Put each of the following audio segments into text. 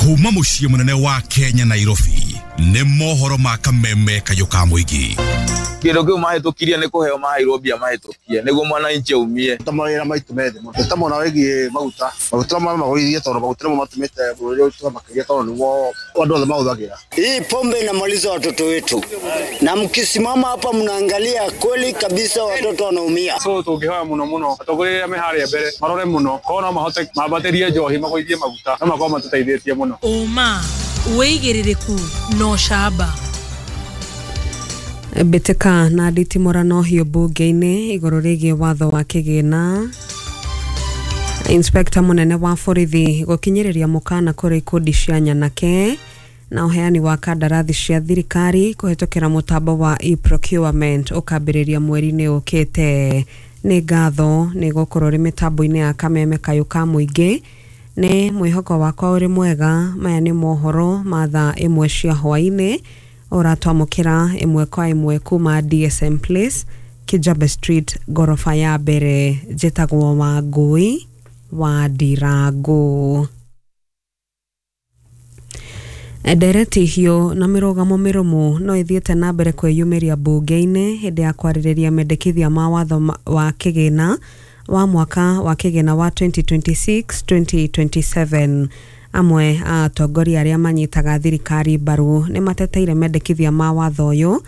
Kuma muciĩ munene wa Kenya Nairobi nĩ mohoro ma kameme kayũ ka mũingĩ. Kĩndũ kĩu mahĩtũkirie nĩ kũheo maheirwo mbia mahĩtũkie nĩguo mwananchi aumie. Ta mawĩra maitũ methĩ mũno ta mwena wĩgiĩ maguta maguta magũithie tondũ maguta nĩmo matũmĩte bũrũri ũyũ makĩria tondũ nĩguo andũ othe mahũthagĩra. Hii pombe inamaliza watoto wetu, na mkisimama hapa mnaangalia kweli kabisa watoto wanaumia. So tũngĩhoya mũno mũno atongoria arĩa me harĩa mbere marore mũno korwo no mahote mambatĩrie njohi magũithie maguta no makorwo matũteithĩtie mũno. Ũma wĩigĩrĩrĩku na ũcamba. Mbĩtĩka na nditimũrano hiũ mbunge-inĩ igũrũ rĩgiĩ watho wa kĩgĩna. Inspector mũnene wa borithi gũkinyĩrĩria mũkana kũrĩ ikundi cia nyanake na ũheani wa kandarathi cia thirikari kũhetũkĩra mũtambo wa e-procurement ũkambĩrĩria mweri-inĩ ũkĩte. Nĩ ngatho nĩ gũkorwo ũrĩ mĩtambo-inĩ ya kameme kayũ ka mũingĩ. Nĩ mwĩhoko wakwa ũrĩ mwega. Maya nĩ mohoro ma thaa 1 cia hwaĩ-inĩ ũratwamũkĩra ĩmwe kwa ĩmwe kuma DSM Place, Kijabe Street, ngoroba ya mbere. Njĩtagwo Wangũi wa Ndirangu. Ndereti hiũ na mĩrũgamo mĩrũmu no ĩthiĩte na mbere kwĩyumĩria mbunge-inĩ hĩndĩ ya kwarĩrĩria mendekithia ma watho wa kĩgĩna wa mwaka wa kĩgĩna wa 2026-2027. Amwe a atongoria arĩa manyitaga thirikari mbaru nĩ mateteire mendekithia ma watho ũyũ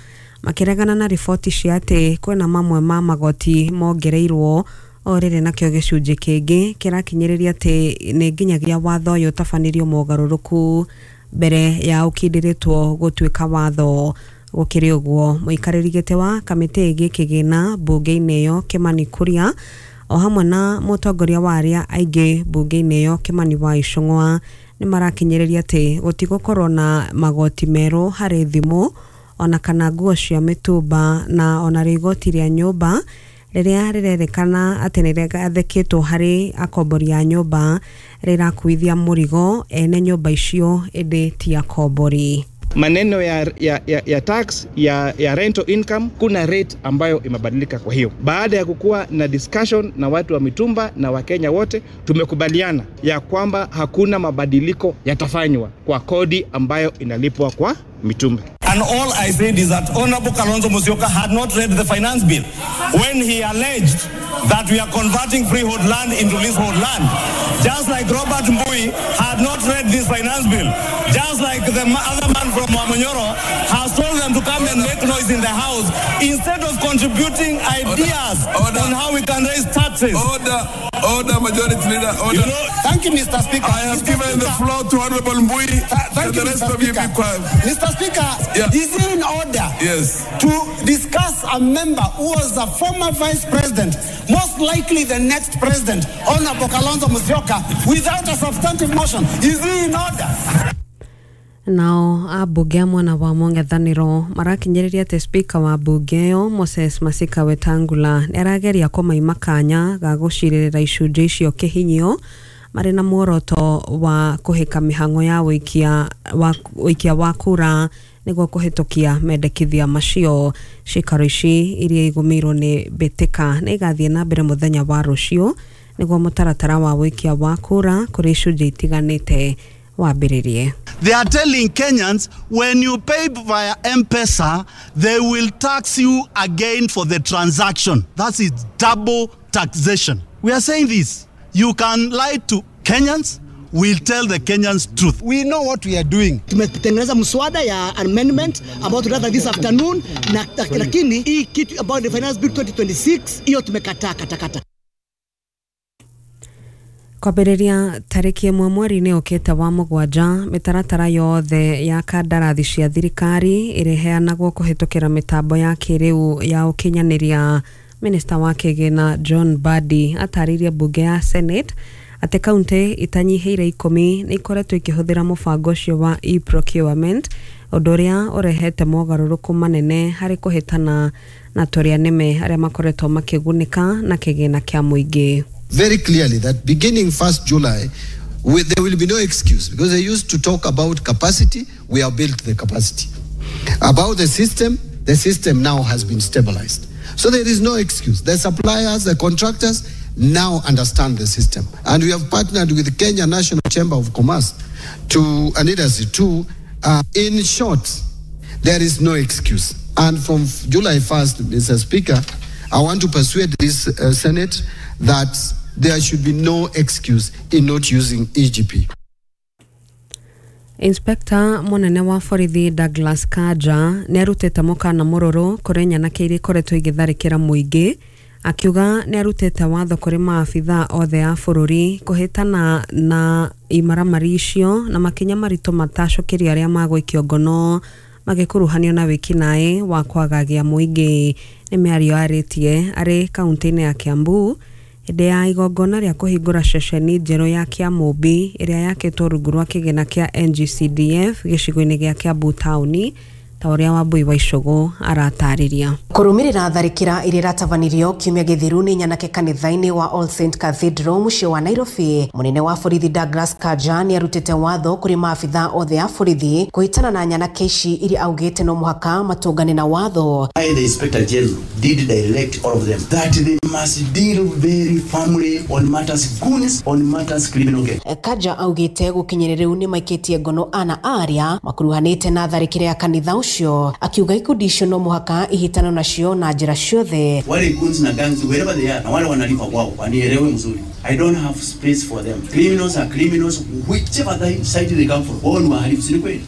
makĩregana na riboti cia atĩ kwĩna mamwe ma magoti mongereirwo o rĩrĩ nakĩo gĩcunjĩ kĩngĩ kĩrakinyĩrĩria atĩ nĩ nginyagia watho ũyũ ũtabanĩrio mogarũrũku mbere ya ũkindĩrĩtwo gũtuĩka watho. Gũkĩrĩ ũguo, mũikarĩri gĩtĩ wa kamĩtĩ ĩgiĩ kĩgĩna mbunge-inĩ ĩyo Kimani Kuria o hamwe na mũtongoria wa arĩa aingĩ mbunge-inĩ ĩyo Kimani wa Ichung'wa nĩ marakinyĩrĩria atĩ gũtigũkorwo na magoti merũ harĩ thimũ ona kana nguo cia mĩtumba na ona rĩ igoti rĩa nyũmba rĩrĩa rĩrerĩkana atĩ nĩ rĩgathĩkĩtwo harĩ akombori a nyũmba rĩrakuithia mũrigo ene nyũmba icio ĩndĩ ti akombori. Maneno ya tax ya rental income, kuna rate ambayo imebadilika. Kwa hiyo baada ya kukua na discussion na watu wa mitumba na Wakenya wote, tumekubaliana ya kwamba hakuna mabadiliko yatafanywa kwa kodi ambayo inalipwa kwa mitumba. And all I said is that Honorable Kalonzo Musyoka had not read the finance bill when he alleged that we are converting freehold land into leasehold land. Just like Robert Mbui had not read this finance bill. Just like the other man from Wamunyoro has told them to come and make noise in the house instead of contributing ideas on how we can raise taxes. Order, order, Majority Leader, order. You know, thank you, Mr. Speaker. I have Mr. given Speaker, the floor to Honorable Mbui. Thank you, the rest Mr. of you Speaker. be quiet. Mr. Speaker, yeah. Is it in order yes. to discuss a member who was a former vice president, most likely the next president, Honorable Kalonzo Musyoka, without a substantive motion? Is he in order? Nao ambunge a mwena wa mũng'ethanĩro marakinyĩrĩria atĩ spika wa mbunge ĩyo Moses Masika Wetangula nĩ arageria kũmaima kanya ga gũcirĩrĩra icunjĩ icio kĩhinyio marĩ na muoroto wa kũhĩka mĩhang'o ya ũikia wa kura nĩguo kũhĩtũkia mendekithia macio. Ciikaro ici iria igũmĩirwo nĩ mbĩtĩka nĩ igathiĩ na mbere mũthenya wa rũciũ nĩguo mũtaratara wa ũikia wa kura kũrĩ icunjĩ itiganĩte wambĩrĩrie. They are telling Kenyans when you pay via M-Pesa, they will tax you again for the transaction. That is double taxation. We are saying this. You can lie to Kenyans, we'll tell the Kenyans truth. We know what we are doing. Tumetengeneza mswada ya amendment ambao tunataka this afternoon, na lakini hii kitu about the finance bill 2026 hiyo tumekataa katakata. Kwambĩrĩria tarĩki 1 mweri-inĩ ũkĩte wa 7 mĩtaratara yothe ya kandarathi cia thirikari ĩrĩheanagwo kũhetũkĩra mĩtambo ya kĩrĩu ya ũkinyanĩria. Minista wa kĩgĩna John Mbadi atarĩirie mbunge ya Senate atĩ kaunti itanyihĩire 10 nĩ ikoretwo ikĩhũthĩra mũbango ũcio wa e-procurement, ũndũ ũrĩa ũrehete mogarũrũku manene harĩ kũhĩtana na tũrĩa nĩme arĩa makoretwo makĩgunĩka na kĩgĩna kĩa mũingĩ. Very clearly that beginning 1st July, there will be no excuse, because they used to talk about capacity. We have built the capacity. About the system now has been stabilized. So there is no excuse. The suppliers, the contractors, now understand the system. And we have partnered with the Kenya National Chamber of Commerce to and Industry to, in short, there is no excuse. And from July 1st, Mr. Speaker, I want to persuade this Senate that there should be no excuse in not using EGP. Inspector munene wa borithi Douglas Kanja nĩ arutĩte mũkana mũrũrũ kũrĩ nyanake iria ikoretwo igĩtharĩkĩra mũingĩ, akiuga nĩ arutĩte watho kũrĩ maabithaa othe a bũrũri kũhĩtana na imaramari icio na makinya maritũ matacũkĩrio arĩa magũikio ngono magĩkuruhanio na wĩkinaĩ wa kwagagia mũingĩ. Nĩ mĩario arĩtie arĩ kaunti-inĩ ya Kiambu hĩndĩ ya igongona rĩa kũhingũra ceceni njerũ ya Kĩamũmbi ĩrĩa yakĩtwo rungu rwa kĩgĩna kĩa NGCDF gĩcigo-inĩ gĩa Kiambu taũni, ta ũrĩa Wambui wa Icũgũ aratarĩria. Kũrũmĩrĩra tharĩkĩra iria iratabanirio kiumia gĩthiru nĩ nyanake kanitha-inĩ wa All Saint Cathedral mũciĩ wa Nairobi, mũnene wa borithi Douglas Kanja nĩ arutĩte watho kũrĩ maabithaa othe a borithi kũhĩtana na nyanake ici iria augĩte no mũhaka matũngane na watho. I, the Inspector General, did direct all of them that they must deal very firmly on matters goons, on matters criminal gang. Kanja augĩte gũkinyĩria rĩu nĩ maikĩtie ngono ana arĩa makuruhanĩte na tharĩkĩra ya kanitha ũcio, akiuga ikundi icio no mũhaka ihĩtano nacio na njĩra ciothe. Wale goons na gangs wherever they are, na wale wanalipa kwao wanielewe mzuri. I don't have space for them. Criminals are criminals whichever side they come from. Wao ni wahalifu, si ni kweli?